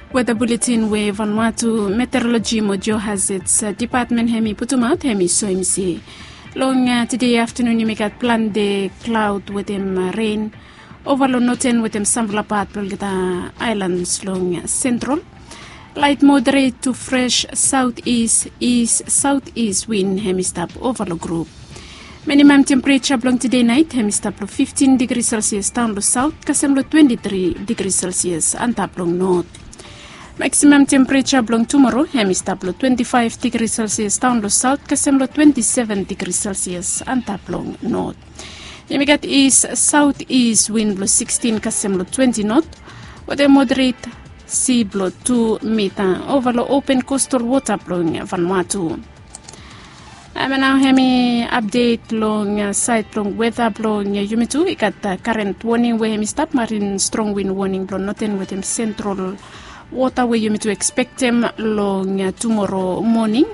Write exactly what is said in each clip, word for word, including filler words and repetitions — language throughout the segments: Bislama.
Weta buletin we Vanuatu Meteorologi mo Geohazards Depatmen hem i putumaot hem i soem se long tede aftanun yumi gat plante klaod wetem ren ova long noten wetem samfala pat blong olgeta aelans long sentral. Lait moderet tu fres saot is is saot is win hem i stap ova long grup. Minimam tempereja blong tede nait hem i stap long fiftin digri selsias daon long saot kasem long twenti tri digri selsias antap long not. Maksimam tempereja blong tumoro hem i stap long twenti faef digri selsias daon long saot kasem long twenti seven digri selsias antap long not. Yumi gat is saot is win blong sikstin kasem long twenti not wetem moderet si blong tu mita ova long open kostal wota blong Vanuatu. Em nao hem i apdet long saed blong weta blong yumi tu i gat karen woning we hem i stap marin strong win woning blong noten wetem sentral wota we yumi tu ekspektem long tumoro moning.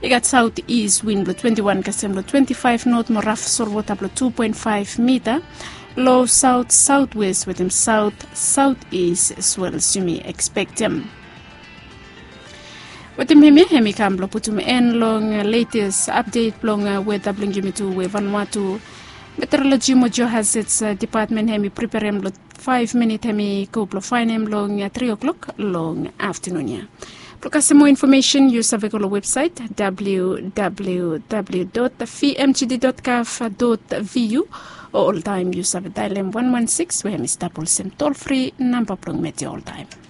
I gat saot is win blong twenti wan kasem long twenti faef not mo raf solwota blong tu poen faef mita long saot saotwes wetem saot saot is swels yumi ekspektem. Wetem hemia hem i kam blong putum en long letes apdet blong weta blong yumi tu we Vanuatu Meteorologi mo Geohazards Depatmen hem i preperem long faef minit hem i go blong faenem long tri o'klok long aftanun ya. Blong kasem moa infomesen yu save go long websaet www vmgd gov vu o oltaem yu save daelem wan wan sikis we hem i stap olsem tolfri namba blong media oltaem.